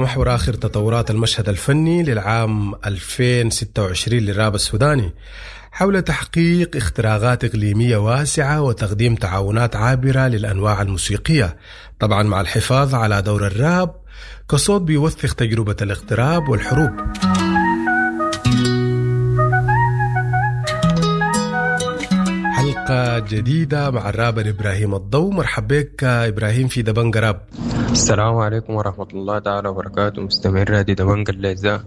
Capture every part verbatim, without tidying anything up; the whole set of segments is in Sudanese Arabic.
تتمحور آخر تطورات المشهد الفني للعام ألفين وستة وعشرين للراب السوداني حول تحقيق اختراقات إقليمية واسعة وتقديم تعاونات عابرة للأنواع الموسيقية، طبعا مع الحفاظ على دور الراب كصوت بيوثق تجربة الاغتراب والحروب. حلقة جديدة مع الرابر إبراهيم الضو. مرحبا بك إبراهيم في دبنقا راب. السلام عليكم ورحمة الله تعالى وبركاته مستمعين راديو دبنقا الأعزاء،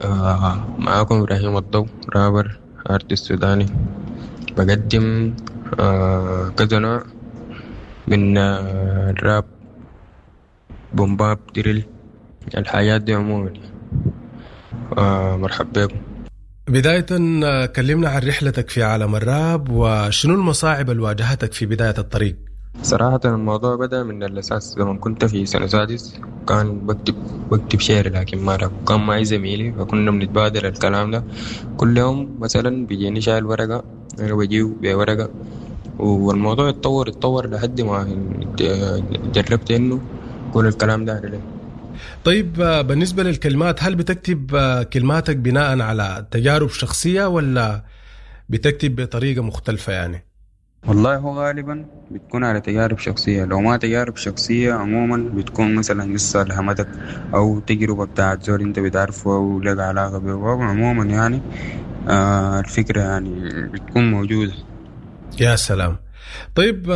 آه معاكم إبراهيم الضو، rapper artist سوداني، بقدم آه كذا نوع من آه الراب، boom bap، drill، الحاجات دي عموما. آه مرحبا بكم. بداية كلمنا عن رحلتك في عالم الراب وشنو المصاعب اللي واجهتك في بداية الطريق؟ صراحة الموضوع بدأ من الأساس لما كنت في سنة سادس، كان بكتب بكتب شعر لكن ما راب، كان معي زميلي فكنا بنتبادل الكلام ده كل يوم. مثلا بيجيني شايل ورقة، أنا بجيه بورقة، والموضوع اتطور اتطور لحد ما جربت إنه كل الكلام ده عليه. طيب بالنسبة للكلمات، هل بتكتب كلماتك بناء على تجارب شخصية ولا بتكتب بطريقة مختلفة يعني؟ والله هو غالبا بتكون على تجارب شخصية، لو ما تجارب شخصية عموما بتكون مثلا قصة لهمتك أو تجربة بتاعت زول انت بتعرفه أو لك علاقة به. عموما يعني آه الفكرة يعني بتكون موجودة. يا سلام. طيب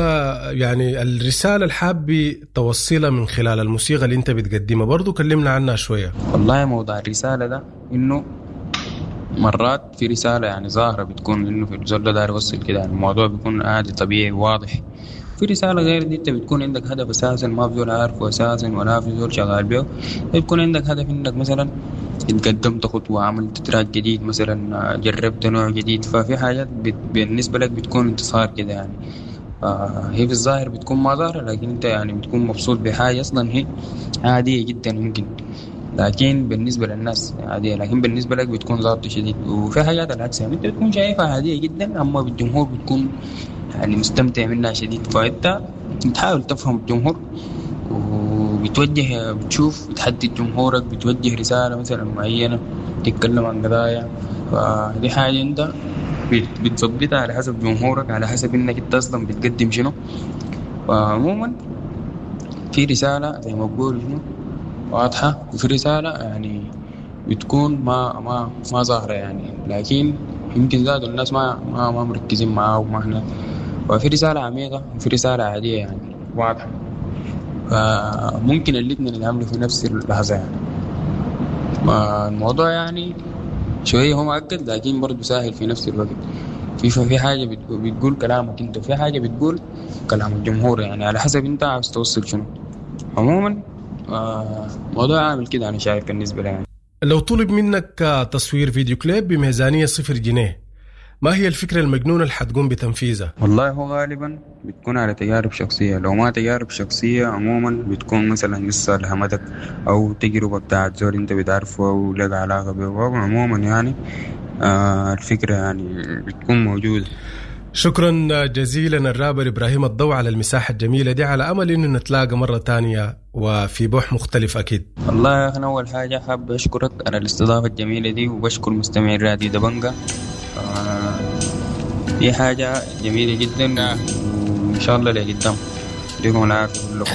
يعني الرسالة الحابة توصلها من خلال الموسيقى اللي انت بتقدمها برضو كلمنا عنها شوية. والله موضوع الرسالة ده انه مرات في رسالة يعني ظاهرة بتكون انه في الزول ده داير يوصل كده، يعني الموضوع بيكون عادي طبيعي واضح. في رسالة غير دي انت بتكون عندك هدف اساسا ما في زول عارفه اساسا ولا في زول شغال به، بتكون عندك هدف انك مثلا اتقدمت خطوة، عملت تراك جديد مثلا، جربت نوع جديد، ففي حاجات بالنسبة لك بتكون انتصار كده يعني. هي في الظاهر بتكون ما ظاهرة، لكن انت يعني بتكون مبسوط بحاجة اصلا هي عادية جدا ممكن، لكن بالنسبة للناس عادية، لكن بالنسبة لك بتكون ظابطة شديد. وفي حاجات العكس يعني انت بتكون شايفها عادية جدا، اما بالجمهور بتكون يعني مستمتع منها شديد. فانت بتحاول تفهم الجمهور وبتوجه، بتشوف، بتحدد جمهورك، بتوجه رسالة مثلا معينة، تتكلم عن قضايا، فدي حاجة انت بتظبطها على حسب جمهورك، على حسب انك انت اصلا بتقدم شنو. فعموما في رسالة زي ما بقول شنو واضحة، وفي رسالة يعني بتكون ما ما ما ظاهرة يعني، لكن يمكن زادوا الناس ما ما ما مركزين معاه وما احنا. وفي رسالة عميقة وفي رسالة عادية يعني واضحة، فممكن الاثنين يتعاملوا في نفس اللحظة يعني. الموضوع يعني شوية هو معقد لكن برضه سهل في نفس الوقت. في في حاجة بتقول كلامك انت، وفي حاجة بتقول كلام الجمهور، يعني على حسب انت عاوز توصل شنو. عموما موضوع عامل كده انا شايف بالنسبة لي يعني. لو طلب منك تصوير فيديو كليب بميزانية صفر جنيه، ما هي الفكرة المجنونة اللي حتقوم بتنفيذها؟ والله هو غالبا بتكون على تجارب شخصية، لو ما تجارب شخصية عموما بتكون مثلا قصة لهمتك أو تجربة بتاعت زول انت بتعرفه أو لك علاقة به. عموما يعني آه الفكرة يعني بتكون موجودة. شكرا جزيلا الرابر إبراهيم الضو على المساحة الجميلة دي، على أمل إنه نتلاقى مرة تانية وفي بوح مختلف أكيد. والله يا أخي أول حاجة حاب أشكرك على الاستضافة الجميلة دي، وبشكر مستمعين راديو دبنقا. آه دي حاجة جميلة جدا، وإن شاء الله لقدام. يديكم العافية كلكم.